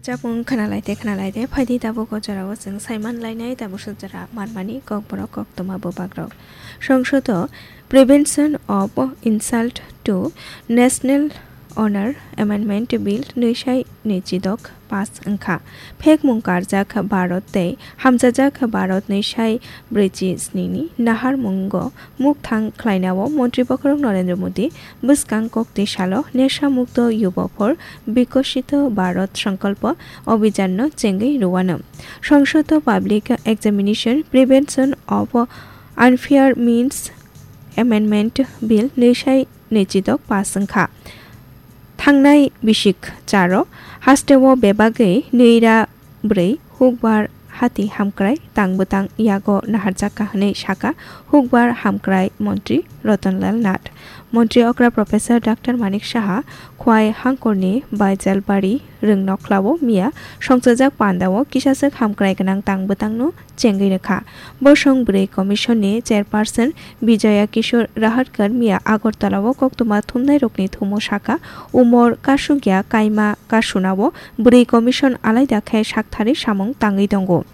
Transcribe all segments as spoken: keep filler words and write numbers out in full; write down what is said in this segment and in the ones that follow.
Chapung khwnalaite khwnalaite phaidi tabuk o jorao chwng saiman lainai tabuk suk jora manmani kokborok koktwma bwbakrok. Songsodo Prevention of Insult to National Honor Amendment Bill nwi sai nwi chidok pass wngkha. Phekmung karjak Bharat tei hamchajak Bharat nwi sai brwichi snini naharmungo mukthang khlainao Montri Bokhorok Narendra Modi bwskang kokti salo Nesha Mukto Yuba for Bikoshito Bharat Sankalpa Abhijanno chengwi rwano. Songsodo Public Examination Prevention of Unfair Means Amendment Bill nwi sai nwi chidok pass wngkha. Thangnai bisik charo hasteo bebagwi nwi ra bwrwi hukbar hati hamkrai tang bwtang yago naharjakha hwnwi sakha hukbar hamkrai montri Ratan Lal Nath. Montri okra Professor Doctor Manik Saha Khwai Hangkorni Baijalbari Rwngnokhlao miya songchajak pandao kisaswk hamkrai gwnang tang bwtangno chengwi rwkha. Bosong Bwrwi Commission ni Chairperson Bijoya Kishore Rahatkar miya Agartala o koktwma thumnai rokni thumo sakha, umor kasugya kaima kasunao Bwrwi Commission alaida khe saktharwi samung tangwi tongo.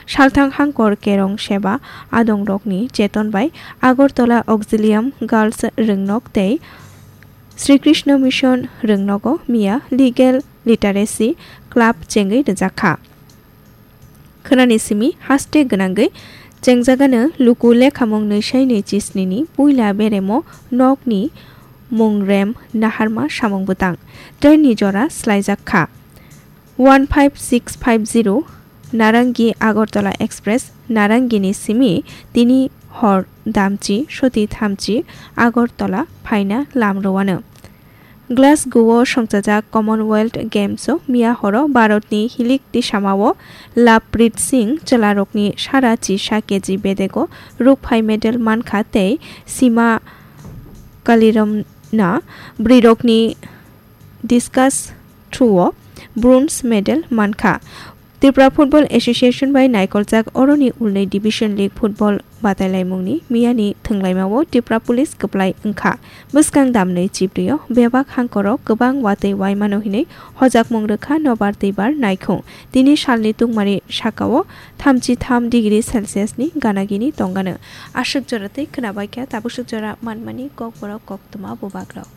Salthang Hangkor Kerong Seba adong rokni cheton bai Agartala Auxilium Girls Rwngnok tei Sri Krishna Mission Rwngnogo miya Legal Literacy Club chengwi rwjakha. Khwnani simi haste gwnangwi chengjagano luku lekhamung nwi sai nwi chisnini puila beremo nokni mungrem naharma samung bwtang trainni jora swlaijak kha. One five six five zero Narangi Agartala Express Narangini simi tini hor damchi soti thamchi Agartala phaina lam rwano. Glasgow o songchajak Commonwealth Games o miya horo Bharatni hilik tisamao Lovepreet Singh chwlarokni sara chisa keji bedego rukphai medal mankha tei Sima Kaliramna bwrwirokni discus throw o bronze medal mankha. Tripura Football Association bai naikoljak oroni ulnwi Division League football batailaimungni miyani thwnglaimao Tripura Police kwplai wngkha. Bwskang damnwi chibrio bebak hangkoro kwbang watwi waimano hinwi hojakmung rwkha nobar twibar naikhung. Tini salni tungmani sakao thamchi tham degree Celsius ni ganagini tongano. Aswk jora tei khwnabaikha tabuk swk jora manmani kokborok koktwma bwbakrok.